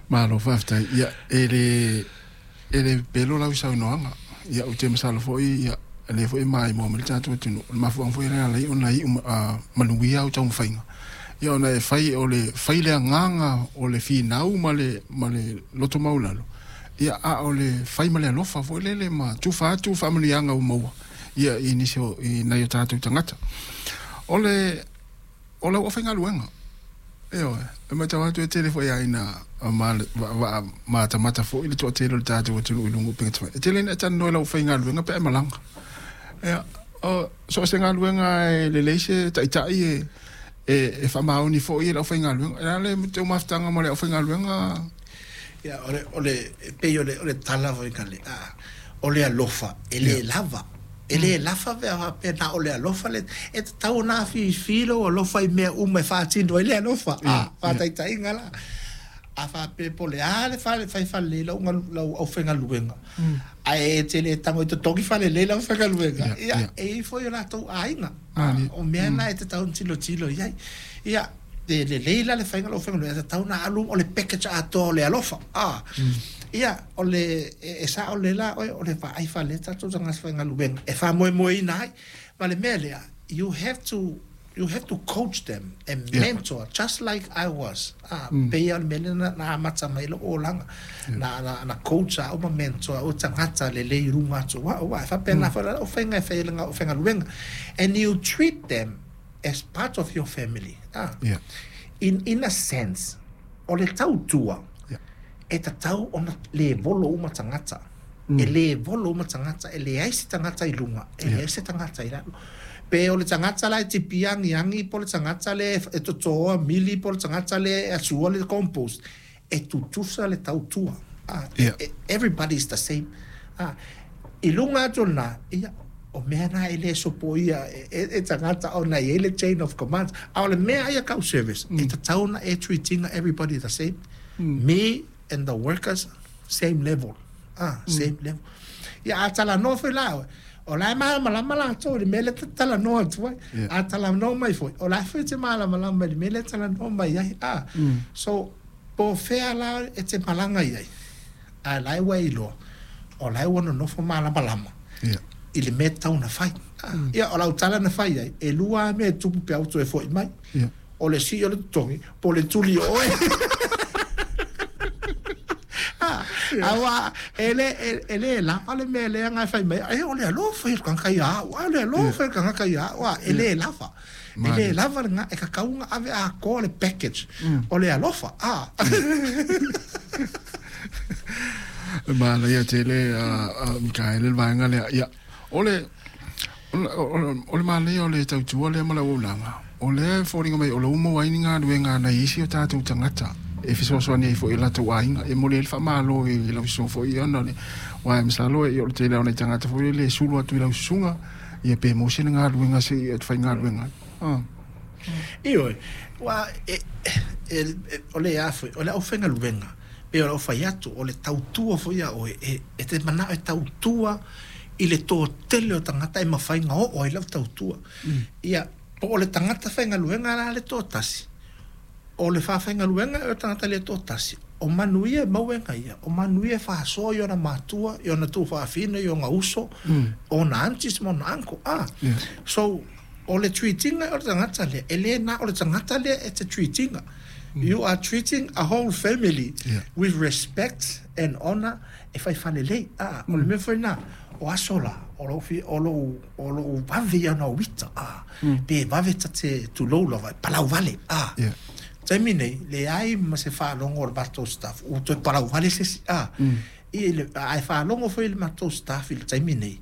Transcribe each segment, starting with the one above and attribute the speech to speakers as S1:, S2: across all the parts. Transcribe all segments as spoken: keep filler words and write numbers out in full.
S1: Malo faafetai. Ia, e le e le pelo lau saunoaga. Ia, ou te masalo foi ia lea foi e maimoa mai le tatou atunuu. O le mafuaaga foi lea e ala ai ona iu manuia au taumafaiga. Ia, ona e fai o le fai le agaga o le finau ma le ma le loto maualalo. Ia, a o le fai ma le alofa foi lele ma tufa atu faamanuiaga ua maua ia i nisi o i nai o tatou tagata. O le o lau aufaigaluega, ioe, e matau atu e tele foi ina ma matamata foi le toatele o le tatou atunuu i luga o upega tafailagi. E tele ina e talanoa i lau aufaigaluega pe a e malaga. Ia, o so o se galuega e lelei se taitai e e, e faamaoni foi e le aufaigaluega. E a le teu mafutaga ma le aufaigaluega?
S2: Ia, o le o le e pei o le o le tala foi ka le a o le alofa e le lava. E le lafa pe a faapea na o le alofa le e tatau ona afifi lou alofa i mea uma e faatino ai le alofa. A faataitaiga la, a faapea po o le a le fale fai falelei lau lau aufaigaluega, ae e te le tago i totogi falelei lau aufaigaluega, ia e i ai foi o latou aiga. O mea na e tatau ona tilotilo i ai. Ia, e lelei la le faiga o lau aufaigaluega, e tatau ona alu o le package atoa o le alofa. A ia, o le e sao le la oe, o le vaai faalelei tatou tagata faigaluega e faamoemoeina ai. Ma le mea lea, you have to you have to coach them and mentor just like I was. Ah, pei o le mea lea na, na amata mai lou olaga. Na, na, na coach au ma mentor au tagata lelei i luga atu o au. E faapena foi la lau faiga e fai ai le aufaigaluega. And you treat them as part of your family. Ah.
S1: Yeah.
S2: In, in a sense, o le tautua,
S1: Yeah.
S2: e tatau ona levolo uma tagata. E levolo uma tagata, e leai se tagata i luga, e leai se tagata i lalo. Pe o le tagata la e tipi agiagi, po o le tagata le e totoa mili, po o le tagata le e asua le compost, e tutusa le tautua. Ah,
S1: Yeah.
S2: e, everybody is the same. Ah, i luga atu o lena, ia, o mea na e le sopoia e, e, e tagata ona e i ai le chain of command. A o le mea ia kau service, e tatau ona e treatinga everybody the same. Me and the workers, same level. Ah, same level. Ia, a talanoa foi la oe, o la e malamalama latou i le mea lea ta talanoa atu ai.
S1: Yeah.
S2: A talanoa mai foi, o la foi e te malamalama i le mea lea talanoa mai ai. Ah, so, po o fea la e te malaga i ai, a la e ua e iloa, o la e ua nonofo malamalama
S1: Yeah.
S2: i le mea tatau ona fai. Ah, ia, o lau tala na fai ai, e lua lava mea e tupu pe a ou toe fo'i mai.
S1: Yeah.
S2: O le sii o le totogi, po o le tuli o oe. Ah, aua e le e, e le lava le mea lea na e fai mai, e o le alofa i le tagata ia au, a o le alofa i le tagata ia au, a e le lava. E le lava lena, e tatau ona ave atoa le package o le alofa. Ah.
S1: Manaia tele, a Mikaele, le vaega lea. Ia, o le o, o le manaia o le tautua lea ma le auaunaga, o lea e foliga mai o lo ua maua ai ni galuega a nai isi o tatou tagata e fesoasoani ai foi i latou aiga. E momoli ai le faamalo i lau susuga foi ona le aua e masalo e o le tele o nai tagata foi lele e sulu atu i lau susuga, ia pe maua sina galuega se i faigaluega ai. Ah.
S2: Ioe, ua e, e, e, o le a foi, o le aufaigaluega, pe o lau fai atu, o le tautua foi ia oe, e, e te manao e tautua i le toatele o tagata e mafai ona oo ai lau tautua. Ia, po o le tagata faigaluega la le toatasi, o le faafaigaluega e o le tagata le toatasi, o manuia e maua e gaia, o manuia e faasoa i ona matua, i ona tuufaafine, i ona uso, ona aunties ma ona uncle. Ah,
S1: Yeah.
S2: so, o le treatinga o le tagata lea, e le na o le tagata lea e te treatinga. You are treating a whole family
S1: Yeah.
S2: with respect and honor e fai falelei. Ah, o le mea foi lena, o aso la, o lou fi, o lou, o lou vave ia ona uita. Ah, pe vave ta te tulou lava, e palau vale. Ah,
S1: Yeah.
S2: taimi nei, leai ma se faalogo o le matou staff, ua toe palau vale se isi. Ah, i le, ae faalogo foi le matou staff i le taimi nei,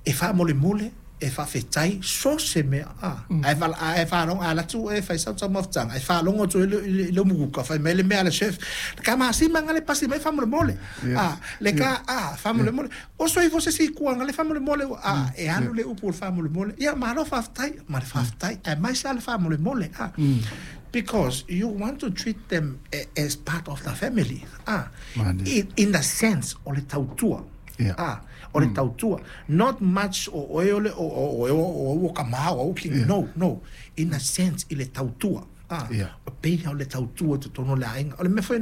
S2: e faamolemole, e faafetai, so se mea. Ah, ae vala- ae faalogo, a alu atu e fai sau taumafataga, e faalogo atu i le, i le, i le umukuka, fai mai le mea a le chef, le ka masima nga le pasi mai faamolemole.
S1: Yeah.
S2: Ah, le ka, ah, faamolemole. O soifo se isi kuaga le faamolemole, ah, e alu le upu o le faamolemole. Ia, malo faafetai, ma le faafetai, ae mai sa le faamolemole. Ah, because you want to treat them a- as part of the family. Ah,
S1: Manaia.
S2: in, in the sense o le tautua.
S1: Yeah.
S2: Ah, o le tautua. Not much o oe o le o o o o o o ka ma o o
S1: Yeah.
S2: No, no. In a sense i le tautua. Ah,
S1: Yeah.
S2: o pei o le tautua i totonu o le aiga. O le mea foi